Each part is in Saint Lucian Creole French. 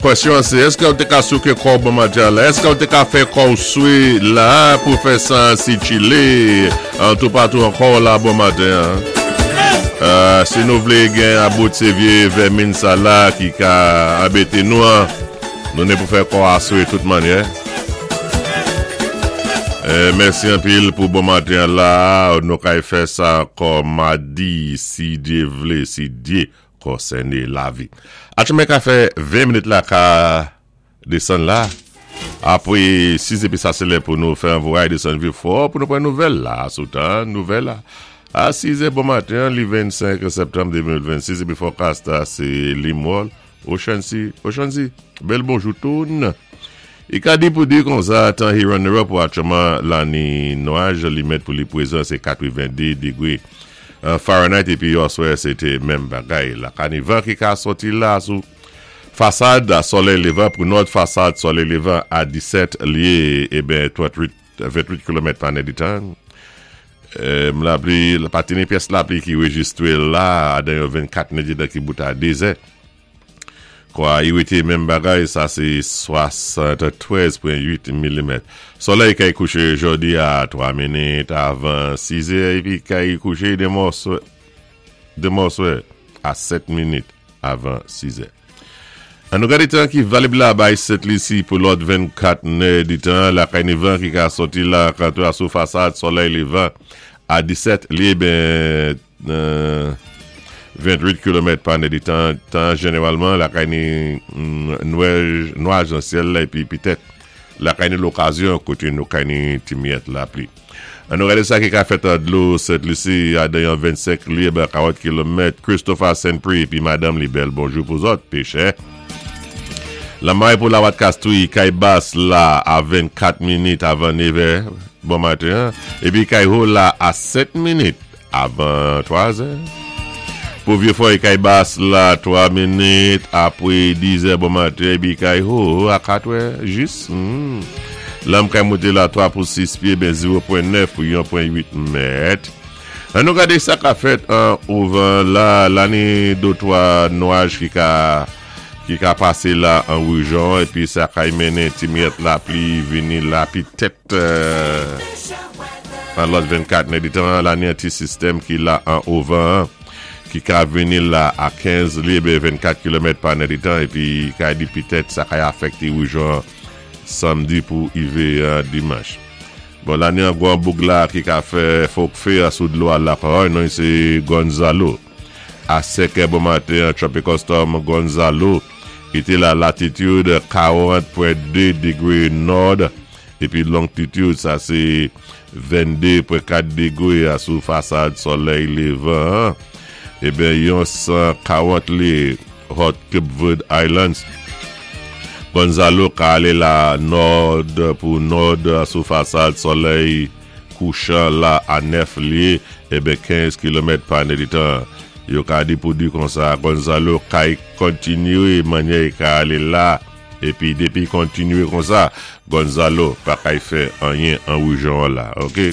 Kwèsyon an sé, èské ou té ka souké kò-w bon maten an la? Èské ou té ka fè kò-w swé la pou fè san sikilé an toupatou an kò-w la bon maten an? Si nou vlé gen about sé vyé vèmin sa la ki ka anbété nou an, nou ni pou fè kò a swe tout mannyè. Mèsi anpil pou bon maten an la. Nou kay fè sa ankò madi si Dye vle, si Dye konsène lavi. Atchoumen ka fè 20 minit la ka desann la. Apre 6 epi sa se lè pou nou fè anvouray desann vi fò pou nou pran nouvèl la sou tan nouvèl la. A 6 è bon maten an li 25 septanm 2026 epi fòkast la se Limwòl Ochansi Ochansi bèl bonjou toun. I ka di pou di konsa tan Hiran Nero pou atchouman la ni nwaj li mèt pou li prezan se 82 degre Fahrenheit epi oswè se te menm bagay la. Kanivan ki ka soti la sou fasad solèy levan pou nòd fasad solèy levan a 17 lye eben 38 28 kilomèt pa nèditan. M lapli pa te ni pyès lapli ki rejistre la adan yo 24 nèditan ki bout a 2 zè. Kwa i rete menm bagay, sa se 73 pwen 8 milimèt. Solèy kay kouche jodi a 3 minit avan 6 è epi kay kouche demen oswè a 7 minit avan 6 è. An nou gade tan ki valib la bay Sent Lisi pou lòt 24 nè di tan lakay ni van ki ka soti la kanto a sou fasad solèy levan a 17 li ben 28 kilomèt pa nè di tan, tan jeneralman lakay ni nwaj nan syèl la epi petèt lakay ni lokazyon kote nou kay ni ti miyèt lapli. An nou gade sa ki ka fèt an dlo Sent Lisi a dan yon 25 lye ba 40 kilomèt Christopher Saint-Prix epi madanm li bèl bonjou pou zòt pechè. Lanmay pou Lawat Kastri kay bas la a 24 minit avan 9 è bon maten an epi kay ho la a 7 minit Avan 3 zè. Pou vye fòy kay bas la 3 minit apre 10 zè bon maten epi kay ho a 4 è jis. Lanm kay moute la 3 pou 6 pye ben 0 pwen 9 pou 1 pwen 8 mèt. An nou gade sa ka fèt an ouvan la lani do 3 nwaj ki ka ki ka pase la an rijon epi sa kay mennen ti miyèt lapli vini la pitèt. An lòt 24 nèditan an, lane an ti sistèm ki la an ovan an, ki ka vini la a 15 li ebe 24 kilomèt pa nèditan epi ka di pitèt sa kay afèkte rejyon an samdi pou ive dimanch. Bon lane an gwan boug la ki ka fè fok fe a sou dlo a la kòy non se Gonzalo. A 5 è bon maten an Tropical Storm Gonzalo ki te la latitude 40.2 degre nòd Epi longtitid sa se 22 pwen 4 degre a sou fasad solèy levan an. Eben yon 140 li Hot Cape Verde Islands. Gonzalo ka ale la nòd pou nòd sou fasad solèy kouchan la a 9 lye eben 15 kilomèt pa nèditan. Yo ka di pou di konsa Gonzalo kay kontinye manyè ka ale la. Epi depi kontinye konsa Gonzalo pa kay fè anyen an rejyon an la ok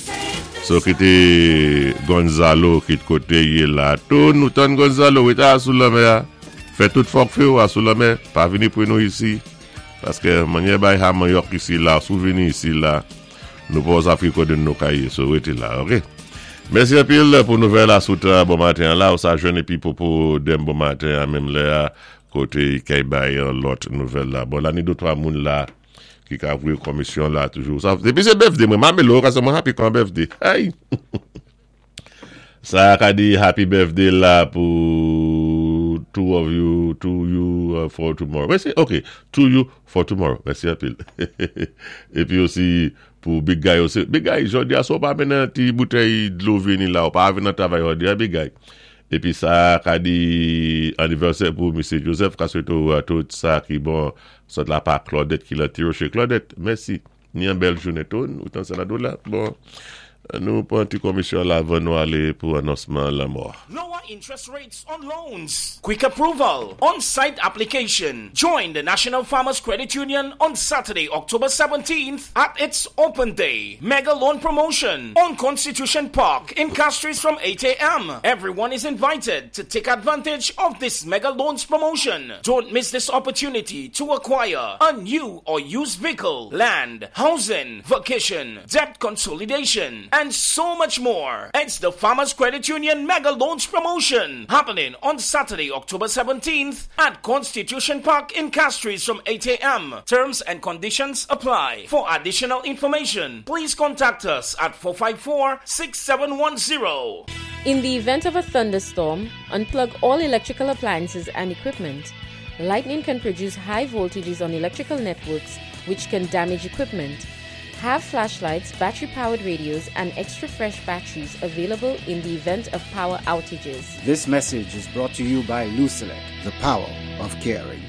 so kite Gonzalo kit kote ye la tou nou tann Gonzalo rete a sou lanmè a fè tout fòk few a sou lanmè pa vini pre nou isi paske manyè bay ha manyòk isi la sou vini isi la nou pa oza fri kote nou kay ye so rete la ok mèsi anpil pou nouvèl a sou tan bon maten an la ou sa jwenn epi popo dem bon maten an menm lè a Kote kay bay yon lòt nouvèl la. Bon la ni 2 3 moun la ki ka voye komisyon la toujou. Sa depi se birthday mwen ma melo kase mwen happy kan birthday. Hey! Sa ka di happy birthday la pou two of you, to you uh, for tomorrow. Mèsi, ok. To you for tomorrow. Mèsi anpil. Epi osi pou Big Guy osi. Big Guy, jodi a si w pa mennen ti boutèy dlo vini la, ou pa vin nan travay jodi a Big Guy. Epi sa ka di anivèsè pou Mesye Joseph ka swete w tout sa ki bon sot la pa Claudette ki lan Tiroche Claudette mèsi ni yon bèl jounen tou ou tan sa nan dou la bon. Nou pran ti komisyon la avan nou alé pou anonsman lanmò. Lower interest rates on loans. Quick approval. On-site application. Join the National Farmers Credit Union on Saturday, October 17th at its Open Day Mega Loan Promotion on Constitution Park in Castries from 8 a.m. Everyone is invited to take advantage of this Mega Loans promotion. Don't miss this opportunity to acquire a new or used vehicle, land, housing, vacation, debt consolidation, and so much more. It's the Farmers Credit Union Mega Loans promotion happening on Saturday, October 17th at Constitution Park in Castries from 8 a.m. Terms and conditions apply. For additional information, please contact us at 454 6710. In the event of a thunderstorm, unplug all electrical appliances and equipment. Lightning can produce high voltages on electrical networks, which can damage equipment. Have flashlights, battery powered radios, and extra fresh batteries available in the event of power outages. This message is brought to you by Lucelec, the power of caring.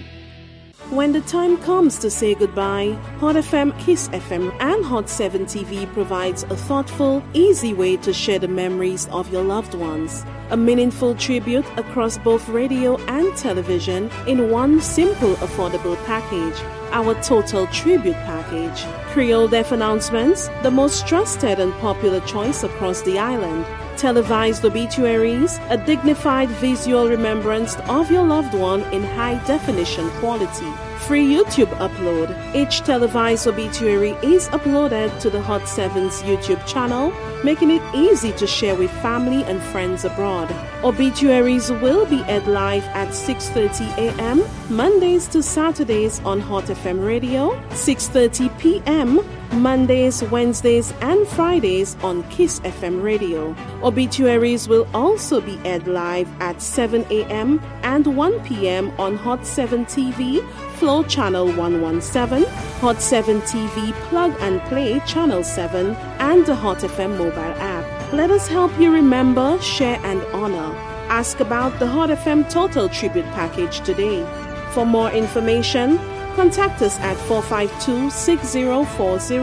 When the time comes to say goodbye, Hot FM, Kiss FM, and Hot 7 TV provides a thoughtful, easy way to share the memories of your loved ones. A meaningful tribute across both radio and television in one simple, affordable package. Our Total Tribute Package. Creole Death Announcements, the most trusted and popular choice across the island. Televised obituaries, a dignified visual remembrance of your loved one in high definition quality. Free YouTube upload. Each televised obituary is uploaded to the Hot 7's YouTube channel, making it easy to share with family and friends abroad. Obituaries will be aired live at 6:30 a.m. Mondays to Saturdays on Hot FM Radio, 6:30 p.m. Mondays, Wednesdays, and Fridays on Kiss FM Radio. Obituaries will also be aired live at 7 a.m. and 1 p.m. on Hot 7 TV, Flow Channel 117, Hot 7 TV Plug and Play Channel 7, and the Hot FM mobile app. Let us help you remember, share, and honor. Ask about the Hot FM Total Tribute Package today. For more information, contact us at 452 6040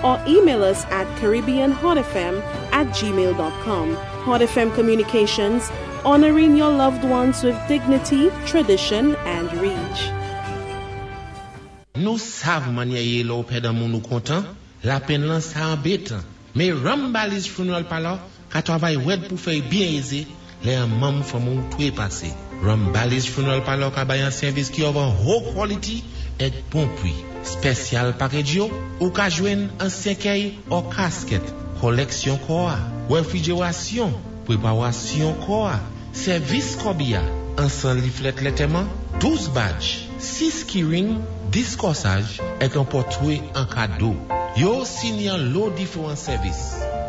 or email us at CaribbeanHotFM at gmail.com. Hot FM Communications, honoring your loved ones with dignity, tradition, and reach. Nou sav mannyè yé lè w pèd an moun ou kontan, lapenn lan sa anbetan. Mé Rambali's Funeral Parlor ka twavay wèd pou fè y byen ézé lè an manm fanmi w twé pasé. Rambali's Funeral Parlor ka bay an sèvis ki of an ho quality èk bon pwi. Spèsyal package yo, ou ka jwenn an sèkèy or casket, kòlèksyon kò a, wèfrijerasyon, pwépawasyon kò a, sèvis kòbi a, ansan liflèt lètèman, 12 badge, 6 keyring, 10 kòsaj, èk an pòtwé an kado. Yo sini an lo diféwan sèvis.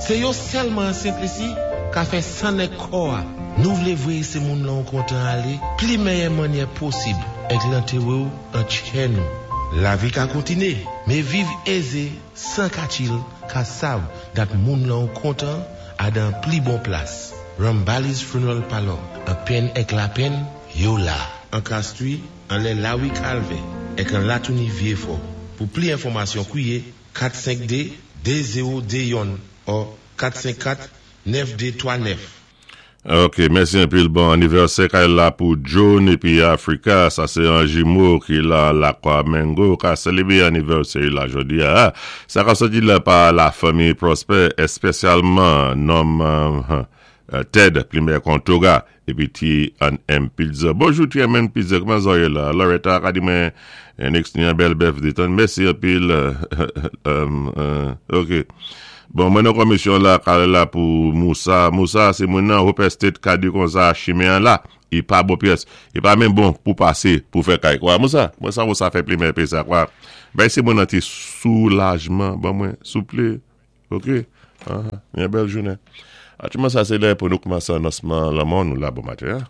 Sé yo sèlman an Sentlisi ka fè sannèk kò a. Nou vlé vwéyé sé moun lan ou kontan alé pli mèyè mannyè posib èk lantéwé ou an tchè nou. Lavi ka kontiné, mé viv ézé 100 katil ka sav dat moun lan ou kontan a dan pli bon plas. Rambali's Funeral Parlor, an penn èk lapenn, yo la. An Castries, anlè Lawi Kalvè, èk an Latouni Vyefò. Pou pli enfòmasyon kwiye 452 2021 or 454 9239. Ok, mèsi anpil. Bon anivèsè kay la pou John épi Africa. Sa sé an jimo ki la Lakwa Mengo ka sélébwé anivèsè la jodi a. Sa ka sòti la pa la fanmi Prosper, èspèsyalman nonm Ted Plimer Kontoga épi T and M Pizza. Bonjou T and M Pizza, kouman sa yé la? Loretta ka di mwen next ni an bèl bèf detann. Mèsi anpil. Ok. Bon, mwen nan komisyon la, kale la pou Moussa. Moussa, sé moun nan Hope Estate ka di konsa chimen an la. I pa bon pyès. I pa menm bon pou pasé pou fè kay kwa. Moussa, mwen sa Moussa fè plimen pé sa kwa. Bay sé moun nan ti soulajman ban mwen, souplé. Ok? Aha, yon bèl jounen. Aktyèlman sa sé lè pou nou koumansé anonsman lanmò nou la bon maten.